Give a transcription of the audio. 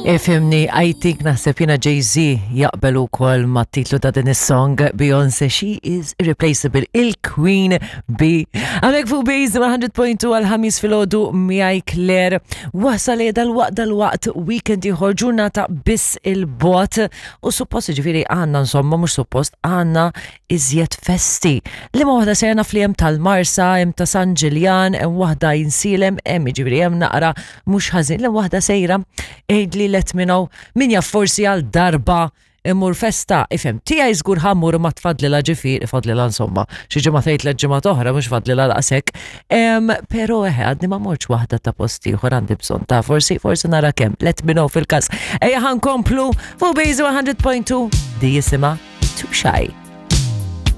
Ifhimni, I think naħseb jiena Jay-Z jaqbel ukoll mat-titlu ta' din is-song Beyoncé, she is irreplaceable, il-Queen Bee. Għalek fuq Base 100.2 għal-ħamis filgħodu miegħi Claire. Wasal dal-waqt dal-waqt weekend ieħor ġurnata biss il-bot u suppost ġifieri għandna insomma mhux suppost għandna iżjed festi. Liema waħda sejra naf li hemm tal-Marsa, hemm ta' San Ġiljan, hemm waħda jinsilem, hemm jiġifieri hemm naqra mhux ħażin. Liema waħda sejra għidli let me know min jaf forsi għal darba immur festa, ifhem, tiegħi żgur ħammur ma tfadlilha ġifieri, fadlilha insomma, xi ġimgħa tgħid tliet ġimgħat oħra mhux fadlilha daqshekk. Però eħe għadni ma mortx waħda ta' post ieħor għandi bżonn ta' forsi forsi nara kemm. Let me know fil-każ. Ejja ħankomplu fuq Base 100.2 di jisimha Too Shy.